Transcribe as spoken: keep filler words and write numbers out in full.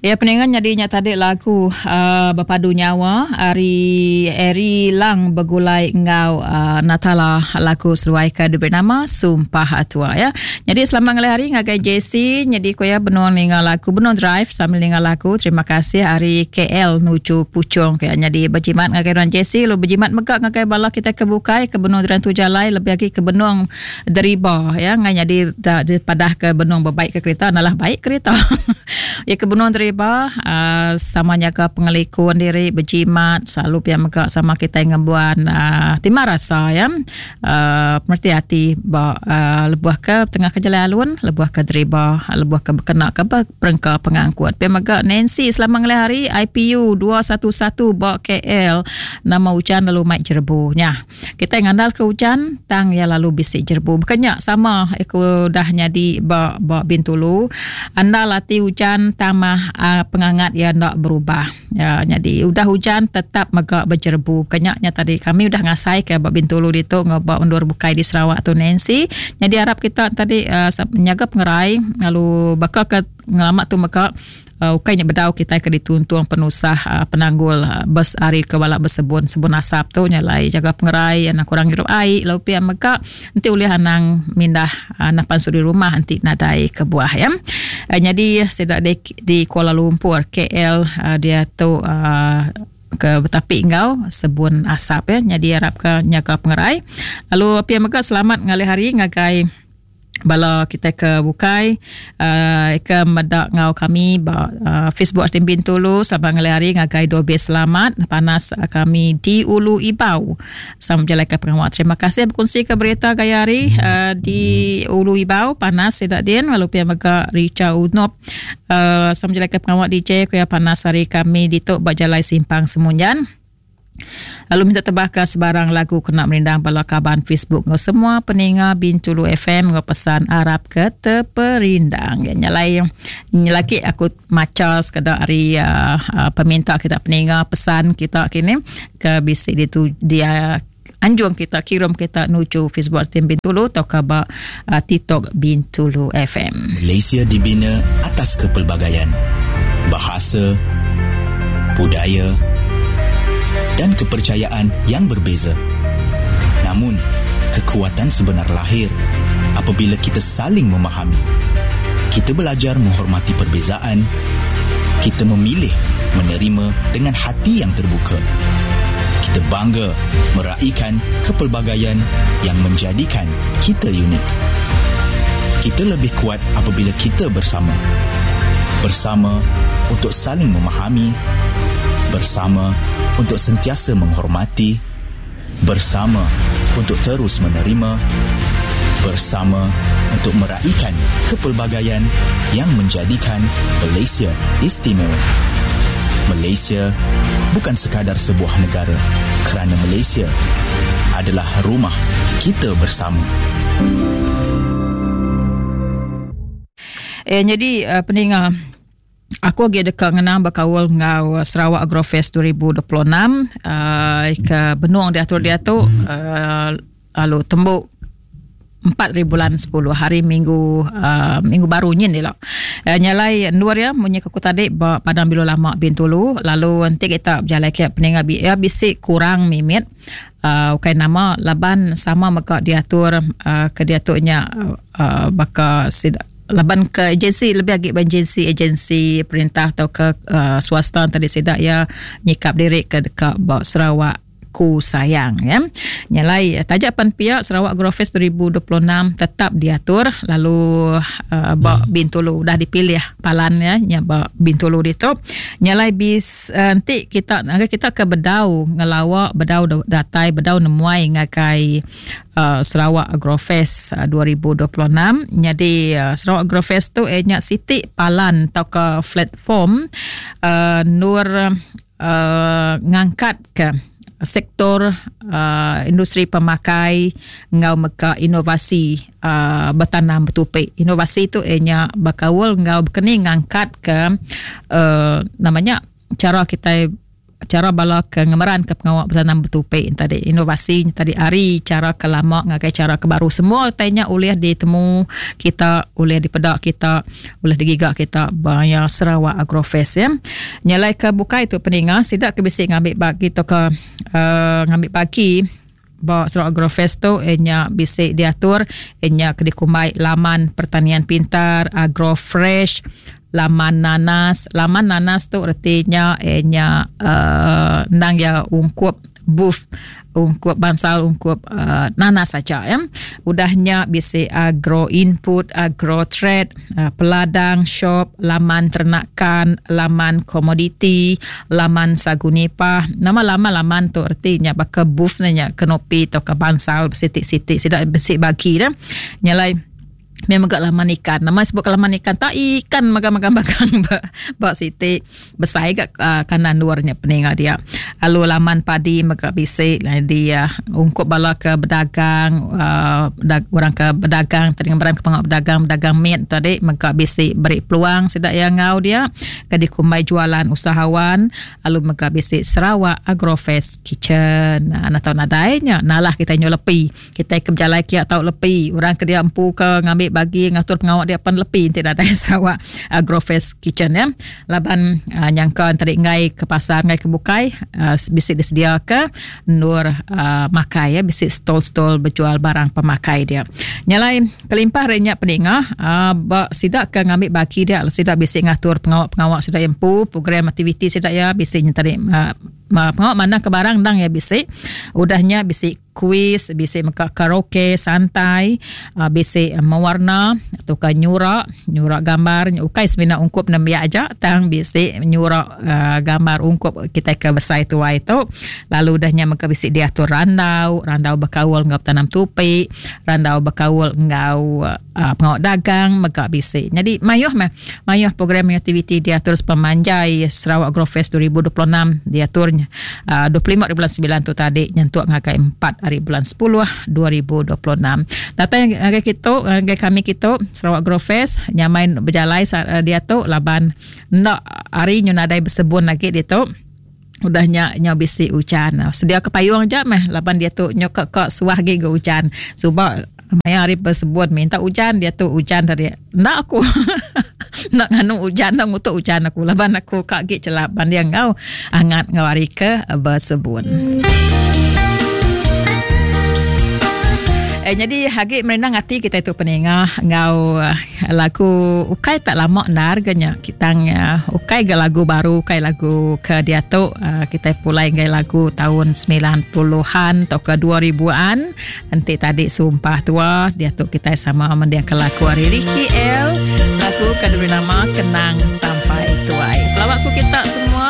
Ya peningan nyadinya tadi lagu uh, Berpadu Nyawa ari Eri Lang begulai ngau uh, Natala lagu seruai ke diberi nama Sumpah Tua ya. Jadi selamat ngalih hari ngagai J C jadi ko ya benung ninga lagu benung drive sambil ninga lagu. Terima kasih ari K L nuju Puchong ke jadi berjimat ngagai orang J C lu berjimat mega ngagai bala kita ke bukai ke benung dran tu jalai lebih lagi ke benung deriba ya ngai jadi da, padah ke benung berbaik ke kereta nalah baik kereta. Ya ke benung deriba Uh, sama nyaga pengelikun diri berjimat selalu pia mega sama kita ngembuan uh, timah rasa ya uh, pemerti hati ba uh, lebuh ke tengah ke jalan alun lebuh ke deriba lebuh ke berkena ke perengka pengangkut pia mega Nancy selamat ngalih hari I P U dua satu satu ba K L nama hujan lalu mai jerbu nya kita ngandal ke hujan tang ya lalu bisik jerbu bukannya sama aku dah nyadi ba ba Bintulu anda latih hujan tamah Uh, pengangat ya nak berubah. Ya, jadi udah hujan tetap megak berjerbu. Kenyaknya tadi kami udah ngasai ke bab Bintulu ditu ngobak undur bukai di Sarawak tu Nancy. Jadi harap kita tadi uh, menjaga pengerai lalu bakal ke ngelamak tu mega uh, ukainya bedau kita ke dituntung penusah uh, penanggul uh, bes ari ke balak bersebun sebun asap tu nyalai jaga pengerai anak kurang hirup air lalu pia mega nanti ulih anang mindah uh, anak pansu di rumah nanti nadai ke buah ya. Uh, jadi sedak di, di Kuala Lumpur K L uh, dia tu uh, ke betapi ngau sebun asap ya. Jadi harap ke nyaga pengerai lalu pia mega selamat ngalih hari ngagai bala kita ke bukai uh, ke medak ngau kami ba uh, Facebook Artin Bintulu selamat ngalih hari ngagai dobe selamat panas uh, kami di Ulu Ibau sama menjalankan pengawal. Terima kasih berkongsi ke berita gaya hari uh, di Ulu Ibau panas sedak din lalu pia mega Richa Unop uh, sama menjalankan pengawal D J kuya panas hari kami di tok ba jalai simpang Semunjan. Lalu minta tebah ke sebarang lagu kena merindang bala kaban Facebook ngau semua peninga Bintulu F M ngau pesan Arab ke terperindang. Ya nyalai nyelaki aku maca sekadar hari uh, uh, peminta kita peninga pesan kita kini ke bisik di dia anjung kita kirim kita nuju Facebook Tim Bintulu atau khabar uh, TikTok Bintulu F M. Malaysia dibina atas kepelbagaian bahasa, budaya dan kepercayaan yang berbeza. Namun, kekuatan sebenar lahir apabila kita saling memahami. Kita belajar menghormati perbezaan. Kita memilih menerima dengan hati yang terbuka. Kita bangga meraikan kepelbagaian yang menjadikan kita unik. Kita lebih kuat apabila kita bersama. Bersama untuk saling memahami, bersama untuk sentiasa menghormati, bersama untuk terus menerima, bersama untuk meraikan kepelbagaian yang menjadikan Malaysia istimewa. Malaysia bukan sekadar sebuah negara, kerana Malaysia adalah rumah kita bersama. Eh, jadi uh, peninga aku lagi dekat ngenang berkawal ngau Sarawak Agrofest dua ribu dua puluh enam uh, ke benung diatur dia tu uh, lalu tembuk empat ribu bulan sepuluh hari minggu uh, minggu baru nyin dia lah. Uh, nyalai dua ya munyi aku tadi ba Padang Bilo Lama Bintulu lalu nanti kita berjalan ke peninga bi ya bisik kurang mimit uh, ukai nama laban sama mega diatur uh, ke diaturnya uh, baka sida laban ke agensi lebih lagi agensi agensi perintah atau ke uh, swasta tadi sedak ya nyikap diri ke dekat ba Sarawak ku sayang ya. Nyalai tajak pan pihak Sarawak Agrofest dua ribu dua puluh enam tetap diatur lalu uh, ba Bintulu dah dipilih palan ya nya ba Bintulu ditu. Nyalai bis uh, nanti kita kita ke bedau ngelawak bedau datai bedau nemuai ngagai uh, Sarawak Agrofest uh, dua ribu dua puluh enam. Jadi uh, Sarawak Agrofest tu eh nya siti palan atau ke platform uh, nur uh, ngangkat ke sektor uh, industri pemakai ngau meka inovasi uh, bertanam bertupik. Inovasi tu ianya bakawal ngau berkeni ngangkat ke uh, namanya cara kita cara bala ke ngemeran ke pengawa betanam betupi tadi, inovasi tadi ari cara ke lama ngagai cara ke baru. Semua tanya ulih ditemu kita, ulih dipedak kita, ulih digiga kita baya Sarawak Agrofest ya. Nyalai ke bukai tu peninga sidak ke bisi ngambil bagi tu ke uh, ngambil bagi ba Sarawak Agrofest tu nya bisi diatur nya ke dikumbai laman pertanian pintar Agrofresh, laman nanas. Laman nanas tu artinya nya uh, ndang ya ungkup booth, ungkup bansal, ungkup uh, nanas saja ya. Udahnya bisi agro input, agro trade, uh, peladang shop, laman ternakan, laman komoditi, laman sagu nipah. Nama laman-laman tu artinya baka booth nya kenopi atau ke bansal sitik-sitik sidak bisi bagi dah. Nyalai memang gak laman ikan. Nama sebut laman ikan tak ikan magang-magang bagang ba, ba siti besai gak uh, kanan luarnya peninga dia. Lalu laman padi mega bisi dia ungkup bala ke berdagang uh, dag, orang ke berdagang tadi ngeberan ke pengak berdagang berdagang mit tadi mega bisi beri peluang sidak yang ngau dia ke dikumbai jualan usahawan. Lalu mega bisi Sarawak Agrofest Kitchen. Nah, atau nadainya nalah kita nyu lepi. Kita ke berjalai kia tau lepi. Orang ke dia empu ke ngambil bagi ngatur pengawak dia pan lepi tidak ada Sarawak Agrofest Kitchen ya. Laban uh, nyangka tadi ngai ke pasar ngai ke bukai uh, bisi disedia ke nur uh, makai ya, bisi stall-stall berjual barang pemakai dia. Nyalai kelimpah renya peninga uh, ba sidak ke ngambil bagi dia sidak bisi ngatur pengawak-pengawak sidak empu program aktiviti sidak ya bisi tadi uh, pengawak mana ke barang dang ya bisi. Udahnya bisi kuis, bisi meka karaoke santai, uh, bisi mewarna atau ke nyurak, nyurak gambar, ukai semina ungkup nembiak aja, tang bisi nyurak uh, gambar ungkup kita ke besai tua itu. Lalu udahnya meka bisi diatur randau, randau berkaul ngau tanam tupi, randau berkaul ngau uh, pengawak dagang meka bisi. Jadi mayuh meh, mayuh program aktiviti diatur sepemanjai Sarawak Agrofest dua ribu dua puluh enam diaturnya uh, dua puluh lima bulan sembilan tu tadi nyentuk ngagai empat hari bulan sepuluh dua ribu dua puluh enam. Datang ngagai kita, ngagai kami kita Sarawak Agrofest nyamain berjalai dia tu laban nak hari nyu nadai bersebun lagi dia tu. Udahnya nyo bisi hujan. Sedia ke payung je meh laban dia tu nyo kak kak suah gi ge hujan. Suba maya hari bersebun minta hujan dia tu hujan tadi. Nak aku nak nganu hujan nak ngutuk hujan aku laban aku kak gi celap ban dia ngau angat ngau hari ke bersebun. Eh, jadi hagi merendang hati kita itu peningah ngau lagu ukai tak lama nar ganya kita uh, ukai ge lagu baru ukai lagu ke dia tu uh, kita pulai ngai lagu tahun sembilan puluhan atau ke dua ribuan nanti tadi sumpah tua dia tu kita sama mendiang ke lagu hari Ricky L lagu ke diberi nama Kenang Sampai